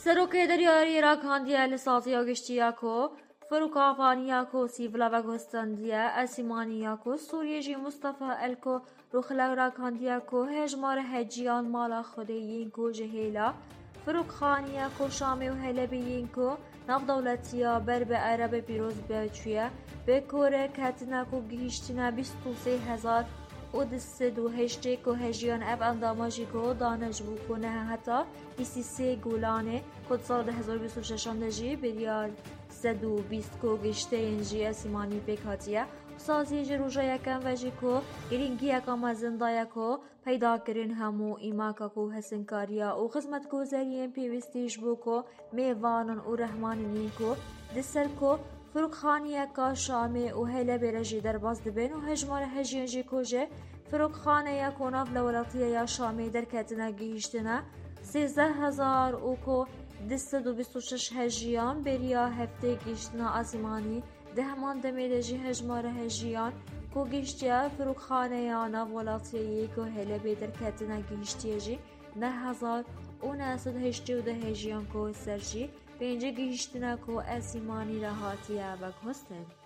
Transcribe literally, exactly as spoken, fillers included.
Serokê Deryarî ragihandiye li saziya giştî ya ku firokavaniya ku sîvila veguhestandî ye, Esîmanî ya ku Sûriyê jî Mustafa Elko Ruxlew ragihandiye ku hejmara heciyan mala Xwedê yên ku ji hêla firokxaniya ku Şamê û Helebê yên ku navdewletiya ber bi Erebê pîroz be çûye, bi ku rêketine ku gihîştine bîst û sê hezar û du sed û heştê ku hejiyan ev endama jî ku dane ji bo ku neheta bîst û sê Gulanê ku di sala du hezar û bîst û şeşan de jî biryar sed û bîst ku gişteyên jî Esîmanî pêk hatiye. Saziyê ji roja yekem ve jî ku girîngiyeka mezin daye ku peydakirin hemû îmaka ku hesinkariya û xizmetguzariyên pêwîstî ji bo ku mêvanan û rehmanên yên ku di ser ku firokxaniyeka Şamê û Helebê re jî derbas dibin û hejmara hejiyên jî ku ji firokxaneya ku nav li welatiya ya Şamê derketine gihîştine sêzdeh hezar û ku du sed û bîst û şeş hejiyan beriya heftê gihîştina Esîmanî. Di heman demê de jî hejmara hejiyan ku gihîştiye firokxaneya nav welatiyê yê ku Helebê derketine gihîştiye jî neh hezar û neh sed heştê û du hejiyan ku ser jî pêncî gihîştine ku Esîmanî re hatiye veguhestin.